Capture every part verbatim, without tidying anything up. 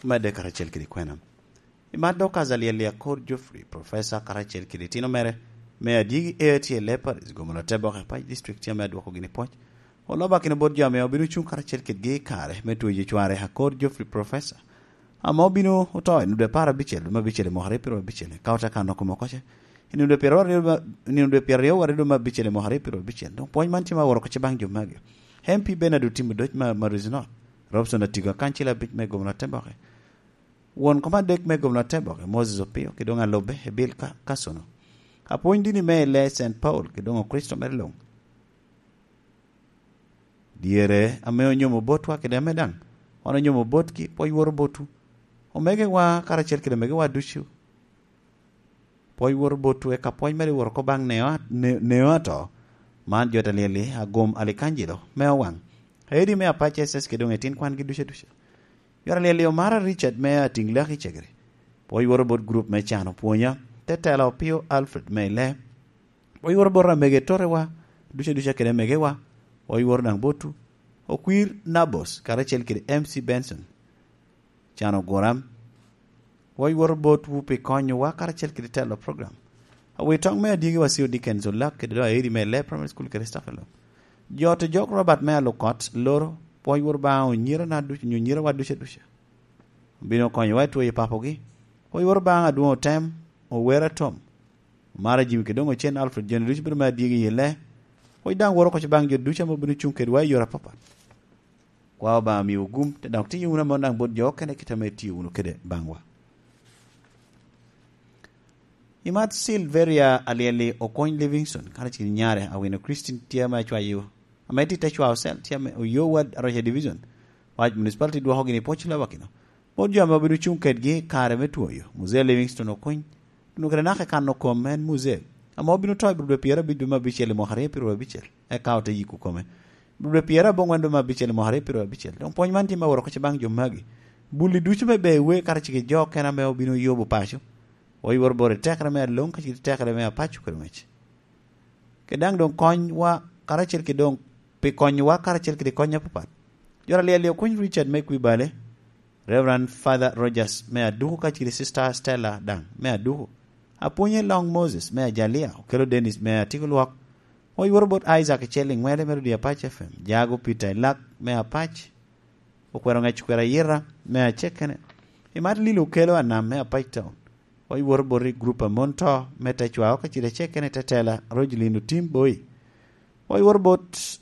Medde karacel kede kwena. I mat dok Azalia Liakor Geoffrey, professor karacel kede itino mere, me adyegi A T L A Paris, gomoro Teboke Pac District, tye ame adwoko gini pwoc. Olobakino bot jo ame obino cuŋ karacel kedgi i kare me tweyo cware Akor Geoffrey, professor, ame obino oto i nino dwe apar abicel, dwe me abicel i mwaka aryo pyeraryo abicel, ka ote kano kome oko ce. I nino dwe pyeraryo, i nino dwe pyeraryo waryo dwe me abicel i mwaka aryo pyeraryo abicel, doŋ pwony man tye ma aworo oko ce baŋ jo magi: M P Bernard Otim Odoc ma, ma Rizino, Robson Atigo, akancil abic me gomoro Teboke, won kom adek me gomoro Teboke, Moses Opio, kede doŋ alubbe, Ebil Ka-, Kasono. Apwony dini me i lee Saint Paul, kede doŋ Okricito mere luŋ. Dyere ame onyomo botwa kede ame daŋ wan onyomo botgi, pwoc woro botwu. Omegewa karacel kede omegewa ducu, pwoc woro botwu, eka pwoc mere woro oko baŋ neo a-, ne-, neo ato. Man jo ta lyel-li, agom Alikanjilo me Owaŋ, Aedi me Apac S S kede doŋ etin kwangi ducu aduca. Jo ta lyel-li, Omara Richard me Atiŋ Laki Cegere, pwoc woro bot gurup me Can Opwonya, te tela Opio Alfred me i lee. Pwoc woro bot amege totewa ducu aduca kede amegewa. Pwoc woro daŋ botwu. Okwir Nabos karacel kede M C Benson, Can Oguram. Pwoc woro botwu pi konyowa karacel kede telo program. Awitoŋ me adyegiwa C O Dickens Olak kede doŋ Aeri me Lee Primary School kede staff alok. Jo to jok Robert me Alukot Loro, pwoc woro baŋ onyirana ducu, onyo nyirawa ducu aduca. Obino konyowa i tweyo papogi. Pwoc woro baŋ Adwoŋ Otem, Owera Tom, Omara Jimmy kede doŋ Ocen Alfred, jo-ni ducu bedo me adyegi i lee. Pwoc daŋ woro oko ce baŋ jo ducu ame obino cuŋ kedwa i yore apapat. Kwa Obaŋa miwu gum, te dok tiyo wunu ame daŋ bot jo okene kit ame itio wunu kede baŋwa. I mat Silveria Alyeli Okony Livingston, karacel kede nyare Awino Christine tye ame acwayo, ame tye te cwao cell, tye ame Oyo Ward Aroca Division, Pac Municipality dwoko gini pwoc Lobakino. Bot jo ame obino cuŋ kedgi i kare me twoyo, Muzee Livingston Okony, Tuno kede naka i kano kom en Muzee, ame obino to i bur dwe pyerabicel dwe me abicel i mwaka aryo pyeraryo abicel, eka ote yiko kome. Bur dwe pyeraboŋwen dwe me abicel i mwaka aryo pyeraryo abicel, doŋ pwony man tye me woro oko ce baŋ jo magi: Buli ducu me Bewe karacel kede jo okene ame obino yubo paco, oyworo bot i tekere me aloŋ kacel i tekere me apaco kede ŋec. Kede daŋ doŋ konywa karacel kede doŋ pi konyowa karacel kede kony apapat. Jo ta lyel-li Okony Richard me Kwibale, Reverend Father Rogers me Aduku kacel kede Sister Stella daŋ me Aduku, Apwonye Long Moses me Ajalia, Okelo Dennis me Atiko Lwok, oyworo bot Isaac Icel Iŋwele me Rodi Apac F M, Jago Peter Ilak me Apac, Okwero Ŋec Okwero Ayira me Acekene, i mat Lilo Okelo Anam me Apac Town, oyworo bot i gurup a mon to me tecwao kacel Acekene Tetela Rogelin Otim Boi, oyworo bot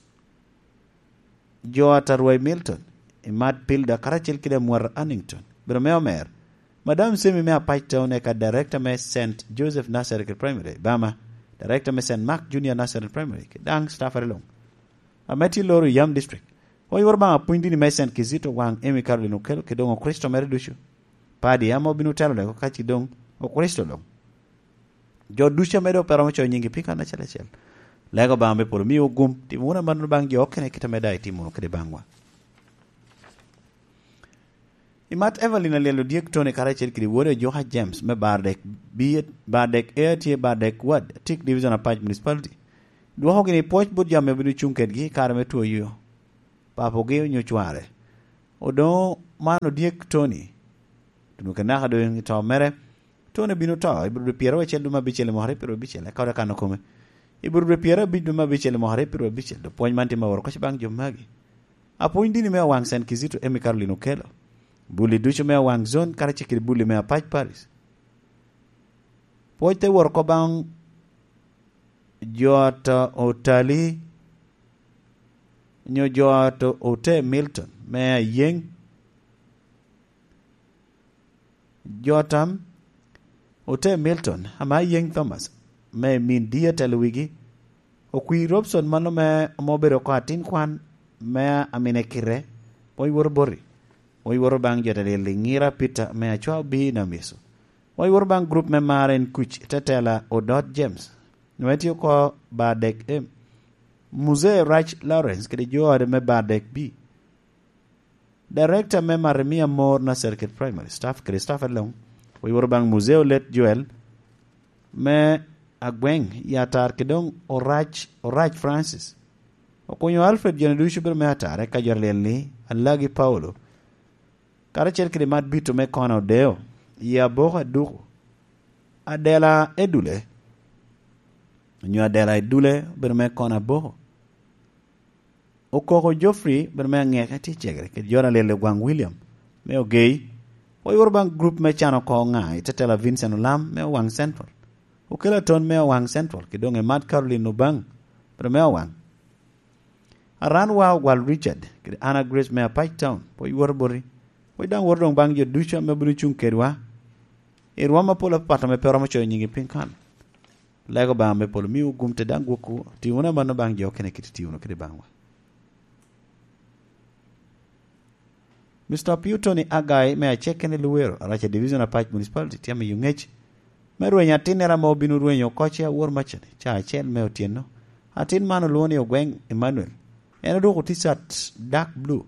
jo a Tarwai Milton, i mat Pilda karacel kede Amwar Annington, bedo me omer, Madam Semi me Apac Town, eka Director me Saint Joseph Nazareth Primary, Bama, Director me Saint Mark Junior Nazareth Primary, kede daŋ staff are luŋ. Ame tye loro i Yam District, oyworo baŋ apwony dini me Saint Kizito Waŋ Emi Caroline Okelo, kede doŋ Okricito mere ducu. Padi ame obino telo lego ka ci doŋ Okricito luŋ. Jo ducu ame doŋ pe romo coyo nyingi pi kan acel acel, lego Obaŋa me polo miwu gum, timo wunu amannono baŋ jo okene kit ame daŋ itimo wunu kede baŋwa. I mat Evelyn Alyel Odyek Tony karacel kede wode Ojoka James me Bardek B, Bardek A tye Bardek Ward, Tik Division Apac Municipality, dwoko gini pwoc bot jo ame obino cuŋ kedgi i kare me twoyo papogi onyo cware. Odoŋo man Odyek Tony, tuno kede naka doŋ i to mere, Tony obino to i bur dwe pyeraryo acel dwe me abicel i mwaka aryo pyeraryo abicel, eka ote kano kome i bur dwe pyerabic dwe me abicel i mwaka aryo pyeraryo abicel. Doŋ pwony man tye me woro oko ce baŋ jo magi: Apwony dini me Owaŋ Saint Kizito Emi Caroline Okelo, buli ducu me Owaŋ Zone karacel kede buli me Apac Parish. Pwoc te woro oko baŋ jo a to Otali, onyo jo a to Ote Milton me Ayeŋ, Jotam Ote Milton, ame Ayeŋ Thomas, me min di atelo wigi, Okwi Robson mano me, ame obedo oko atin kwan me Amine Kite, pwoc woro boti, pwoc woro baŋ jo ta lyel Iŋira Peter me Acwa Obi Nam Yecu, pwoc woro baŋ gurup me Mar en Kuc, tetela Odot James, nwe tye oko Bardek M, Muzee Rach Lawrence kede jo ode me Bardek B, Director me Maremia Mor Nursery kede Primary, staff kede staff along, oyworo baŋ Muzee Olet Joel me Agweŋ i Atar kede doŋ Orac, Orac Francis. Okunyo Alfred joni ducu bedo me Atar, eka jo aryel ni Alagi Paulo, karacel kede Mat Bito me Kona Odeo, Yie Aboko Aduku, Adela Edule, onyo Adela Edule obedo me Kona Aboko. Okoko Geoffrey obedo me Aŋeke tye i Cegere, kede Jona Lel Ogwaŋ William me Ogei. Oyuro baŋ grup me Can Oko Ŋa i Tetela, Vincent Olam me Owaŋ Central, Okelo Aton me Owaŋ Central, kede doŋ Emat Caroline Obaŋ obedo me Owaŋ. Aran wa Ogwal Richard, kede Anna Grace me Apac Town, pwod yworo boti. Pwod daŋ woto doŋ baŋ jo ducu ame obino cuŋ kedwa i rwom apol apapat ame pe romo coyo nyigi piny kan. Lego Obaŋa me polo miwu gum te daŋ gwokwu, ti wunu amanno baŋ jo okene kit iti wunu kede baŋwa. Mister Opio Tony Agai me Aceken i Luwero, Araca Division, Apac Municipality, tye amiyo ŋec me rwenyo atinnere ame obino rwenyo oko ce awor macani, ca acel me otyeno. Atin man olwoŋo ni Ogweŋ Emmanuel. En odwoko T-shirt dark blue.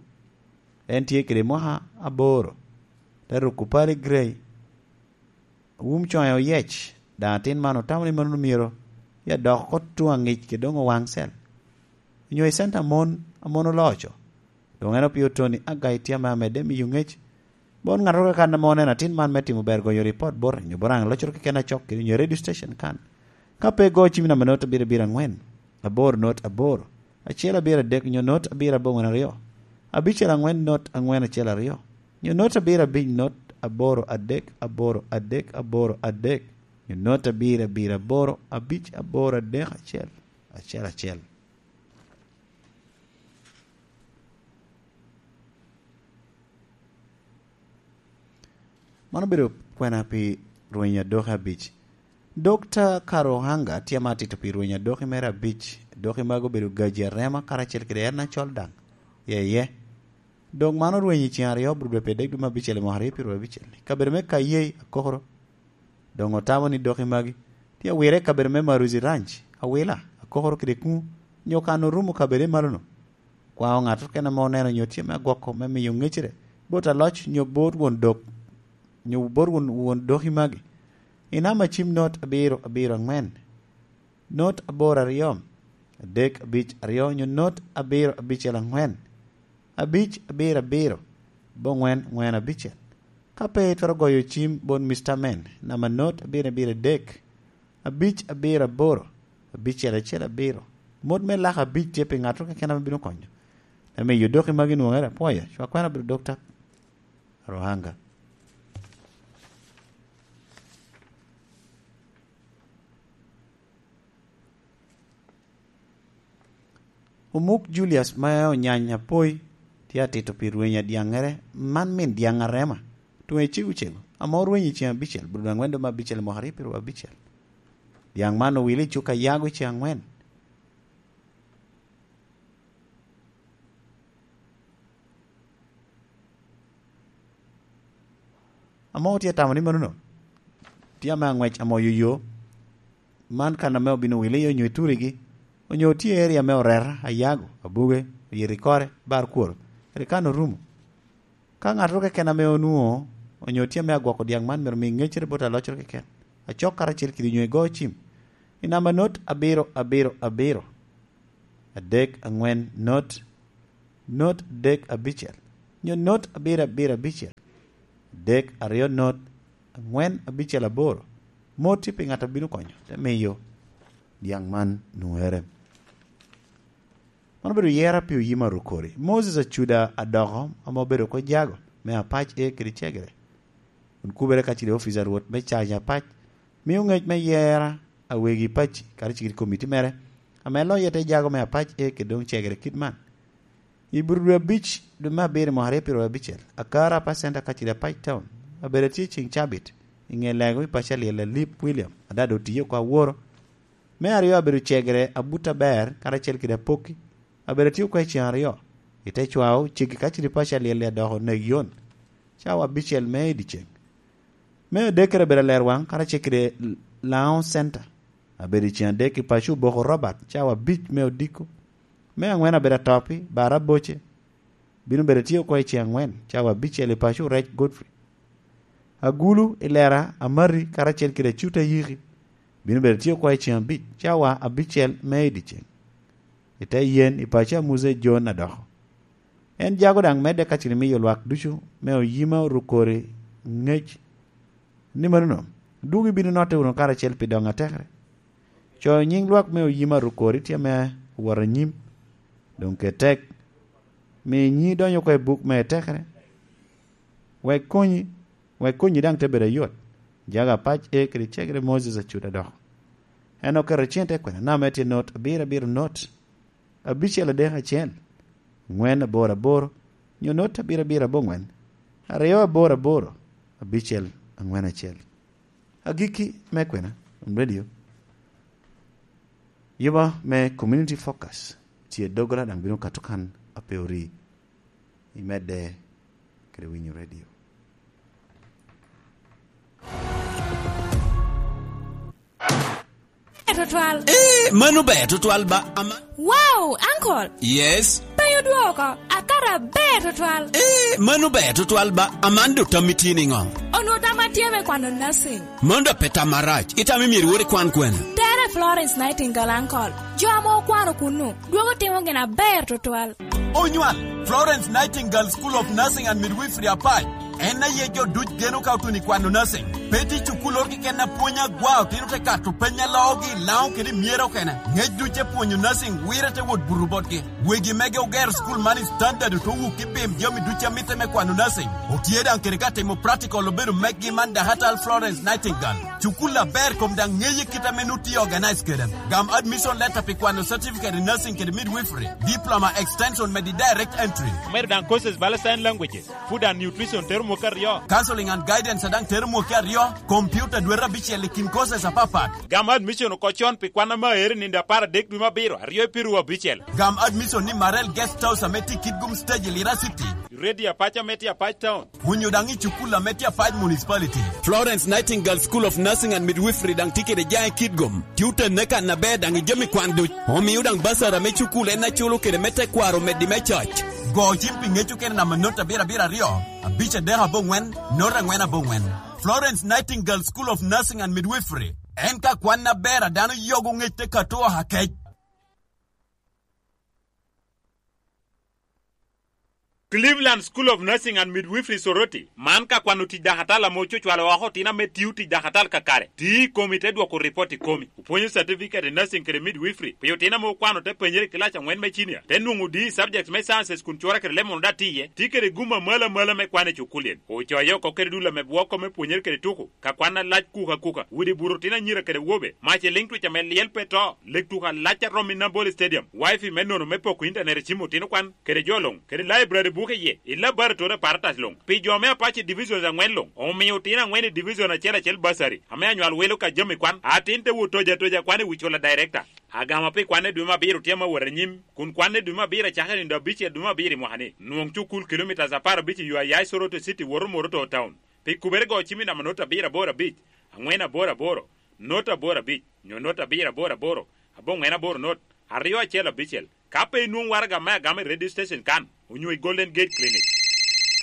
En tye kede mwaka aboro. Te ruko pali grey. Wum coŋe oyec, daŋ atin man otamo ni mannono myero ya dok oko tuŋ aŋic kede doŋ owaŋ cel. Onyo i center mon, a mon oloco. Doŋ en Opio Tony Agai tye ame amedde miyo ŋec. Bot ŋattoro keken ame oneno atin man me timo ber goyo ripot bote, onyo bot aŋ loccoro keken acok kede onyo radio station kan. Ka pe igo cim namba not abiro abiro aŋwen, aboro not aboro, acel abiro adek, onyo not abiro aboŋwen aryo, abicel aŋwen not aŋwen acel aryo, onyo not abiro abic not aboro adek aboro adek aboro adek, onyo not abiro abiro aboro abic aboro adek acel, acel acel. Man obedo kwena pi rweny adoki abic. Dokta Karuhanga tye ame atito pi rweny adoki mere abic. Adoki magi obedo gaji arema karacel kede en acol daŋ. Yeye. Dok man orweny i ceng aryo, Aburuduwa pi adek dwe me abicel i mwaka aryo pyeru abicel. Kabedo me Kayei, Akokoro. Doŋ otamo ni doki magi tye awire i kabedo me Maruzi Ranch, Awila, Akokoro kede Kuŋu, onyo kan orumo kabedo i malono. Kwao ŋattoro keken ame oneno onyo tye me agwoko me miyo ŋecere bot aloc onyo bot won dok, onyo bot won, won doki magi, i namba cim not abiro abiro aŋwen, not aboro aryo, adek abic aryo, onyo not abiro abicel aŋwen, abic abiro abiro, aboŋwen ŋwen abicel. Ka pe itwero goyo cim bot Mister Men, namba not abiro abiro adek, abic abiro aboro, abicel acel abiro. Mot me laka abic tye pi ŋattoro keken ame bino konyo. Ame i odoki magi nwoŋere, apwoyo, cwa kwena bedo Dokta Ruhanga. Omuk Julius ma Onyany Apoi tye atito pi rweny adyaŋŋere, man min dyaŋ arema, tuŋe cego cego, ame orweny i ceng abicel, Aburuduwa aŋwen dwe me abicel i mwaka aryo pyeru abicel. Dyaŋ man owile i cuk Ayago i ceng aŋwen. Ame otye tamo ni manono, tye ame aŋwec ame oyoyo, man kan ame obino wile iye onyo i turigi, onyo tye i area me Oreta, Ayago, Abuge, Oyirikore, Barkworo, kadi kan orumo. Ka ŋattoro keken ame onwoŋo, onyo tye ame agwoko dyaŋ man, myero omi ŋeccere bot aloccoro keken, acok karacel kede onyo igo cim, i namba not abiro abiro abiro, adek aŋwen not, not adek abicel, nyo not abiro abiro abicel, adek aryo not, aŋwen abicel aboro. Mot tye pi ŋat a bino konyo, te miyo dyaŋ man nwoŋere. Man obedo yera pi oyim arukori. Moses Acuda Adoko, ame obedo oko jago me Apac A kede Cegere, kun kubere kacel i ofic a Rwot me Cac Apac, mio ŋec me yera a wegi Paci, karacel kede komiti mere, ame loye te jago me Apac A kede doŋ Cegere kit man. I Aburuduwa abic, dwe me abiro, mwaka aryo pyeru abicel, Akara Apa Center kacel i Apac Town, abedo atye i ceng cabit, i ŋe lego i paco alyel Alip William, adada otiye oko aworo, me aryo abedo Cegere Abut Aber karacel kede Apokki, abedo atye oko i ceng aryo, i te cwao ceggi kacel i paco alyel Adoko Neg Yon, cawa abicel me i dyeceng. Me adekkere abedo Alerwaŋ karacel kede Laŋo Center, abedo i ceng adek i paco Oboko Robert, cawa abic me odiko. Me aŋwen abedo Atopi, Bara Boce, bino bedo tye oko i ceng aŋwen, cawa abicel i paco Rec Godfrey. Agulu i Lera Amari karacel kede Acuta Yiki, bino bedo tye oko i ceng abic, cawa abicel me i dyeceng, i te yen i paco Amuze John Adoko. En jago daŋ medde ka cen imiyo lwak ducu me Oyima Orukori ŋec ni manono, dwogo ibino notte wunu karacel pi doŋ atekere. Coyo nyiŋ lwak me Oyima Orukori tye ame owot anyim, doŋ ket tek, mi nyi donyo oko i buk me tekere, wek konyi, wek konyi daŋ te bedo ayot. Jago apac e kede cegere Moses Acut adoko. En oketo cente kwena nam me tye not abiro abiro not, abicel adek acel, ŋwen aboro aboro, nyo not abiro abiro aboŋwen, aryo aboro aboro, abicel aŋwen acel. Agikki me kwena, radio, yuba me Community Focus, tye doggola daŋ bino kato kan a pe ori, imedde kede winyo radio. Tutwal. Eh, mano ber tutwal ba, ama. Wow, uncle. Yes. Penyo dwoko, akara ber tutwal. Eh, mano ber tutwal ba, Amando tammi tye niŋo? Onwo tamma tye me kwano nursing. Mano da pe tam marac. Itamo myero iwor ikwan kwene? Tere Florence Nightingale, uncle. Jo ame okwano kunnu, dwogo timo gin aber tutwal. Onywal, Florence Nightingale School of Nursing and Midwifery Apac. En aye jo duc geno ka otuno i kwano nursing. Pe tye cukul oro keken a pwony agwa, otino te kato peny a loogi i Laŋo kede i Myera okene. Ŋec duc te pwonyo nursing wire te wot buto botgi. Wegi mege ogero cukul man i standard oto wuk i bim jami duc a mitte me kwano nursing. Otye daŋ kede ka timo practical obedo meggi man Dakatal Florence Nightingale. Cukul aber kom daŋ ŋeye kit ame nut tye organize kede. Gam admission letter pi kwano certificate in nursing kede midwifery, diploma extension medi direct entry. Omedo daŋ courses bala sign languages, food and nutrition tero mwaka aryo. Counseling and guidance a daŋ tero mwaka aryo, computer dwete abicel i kin courses apapat. Gam admission oko con pi kwan ame aero i nino apar adek dwe me abiro, aryo i piru abicel. Gam admission ni Marel Guest House ame tye i Kitgum Stage i Lira City. Radio Apac ame tye Apac Town. Onyo daŋ i cukul ame tye Apac Municipality. Florence Nightingale School of Nursing and Midwifery daŋ tye kede Jaŋ i Kitgum. Tye otenne kan aber daŋ i jami kwan duc. Omio daŋ basari ame cukul en aculo kede me tekwaro omeddi me coc. Go cim pi ŋec okene namba not abiro abiro aryo, abic adek aboŋwen, not aŋwen aboŋwen. Florence Nightingale School of Nursing and Midwifery. En ka kwan aber a dano yogo ŋec te kato oha kec. Cleveland School of Nursing and Midwifery Soroti, man ka kwano tic dakatal ame ococwalo oko otino ame tio tic dakatal kakare. Ti i komi te dwoko ripot i komi. Opwonyo certificate in nursing kede midwifery pi otino ame okwano te penyere i kilac aŋwen me cinia, te nwoŋo D E subjects me sciences kun cura kede lemon oda tye iye. Ti kede gum amalo amalo me kwan i cukul-li. Ocoyo oko kede dul ame bwoko me pwonyere kede tuko. Ka kwan alac kuka kuka, udi buto otino anyira kede wobe, mac i liŋ twic ame lyel pe to, lek tuko alac a romo i Nambole Stadium, wifi me nono me poko intanet i cim otino kwan, kede jo luŋ, kede laibrari buke iye, i laboratory apparatus luŋ. Pi jo me Apac i divisions aŋwen luŋ, omio otino aŋwen i division acel acel basari, ame anywal wilo ka jami kwan, atin te wot tojo atoja kwan i wi cula director. Agama pi kwan i dwe me abiro tye ame wot anyim, kun kwan i dwe me abiro acakere i nino abicel dwe me abiro i mwaka-ni. Nwoŋ cukul kilomitas apar abic i yo a ya i Soroti City woto Moroto Town. Pi kubere go cim i namba not abiro aboro abic, aŋwen aboro aboro, not aboro abic, nyo not abiro aboro aboro, aboŋwen aboro not, aryo acel abicel. Ka pe inwoŋo waraga me agama i radio station kan, onyo i Golden Gate Clinic.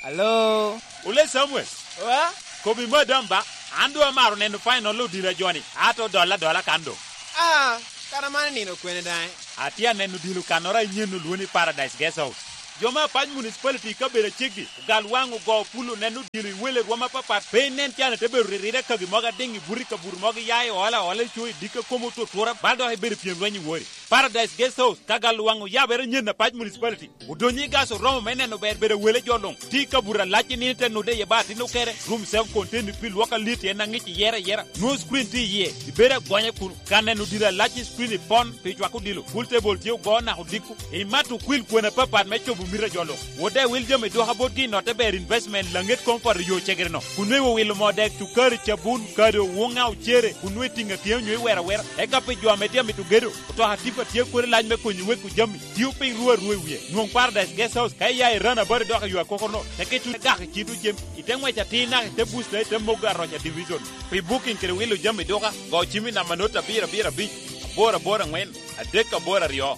Alo? Ole Samuel. Wa? Kobi madam ba, an doŋ amaro neno final odilo a joni, ato dolla adola kan doŋ. Ah, kara man nino kwene daŋ? Atye aneno odilo kannoro a inyen olwoni Paradise Guest House. Jo me Apac Municipality i kabedo aceggi, ogal waŋ ogo pul oneno odilo i wele rwom apapat, pe inen can ite bedo ririre kagi mogo adiŋ i buto i kabuto mogo iya i ola ola i co i dikka kom otutura, bal dok ibedo pyem lweny i wori. Paradise Guest House, ka gal waŋ oyabere nyen Apac Municipality, odonyo i gas oromo me neno ber bedo wele jo luŋ. Ti i kabuto alac i nino ite nude iye ba atin okere, room self contained pi lwok alit en aŋic iyere ayera, nwoŋo screen tye iye, ibedo agonya kun ka neno odilo alac i screen i pon pi cwako odilo, pool table tye ogo naka odiko, imato okwil kwena apapat me cobo mito a jo luŋ. Wode wil jami dwoka botgi i notte ber investment laŋet comfort i yo cegere-no. Kun nweŋ owilo moo dek, cukari, cabun, kado, wuŋa, ocere, kun nweŋ itiŋo atiŋa onyo iwero awera. Eka pi jo ame tye amito gedo, otoka tipa tye kodi lac me konyo weko jami. Tio piny ru arua i wie. Nwoŋ Paradise Guest House ka iya i Run About dok i yo akoko-no. Teke tuno gak i cito cem. Ite ŋwec atir naka ite busta ite mogo aroca division. Pi booking kede wilo jami duka, go cim i namba not abiro abiro abic, aboro aboro aŋwen, adek aboro aryo.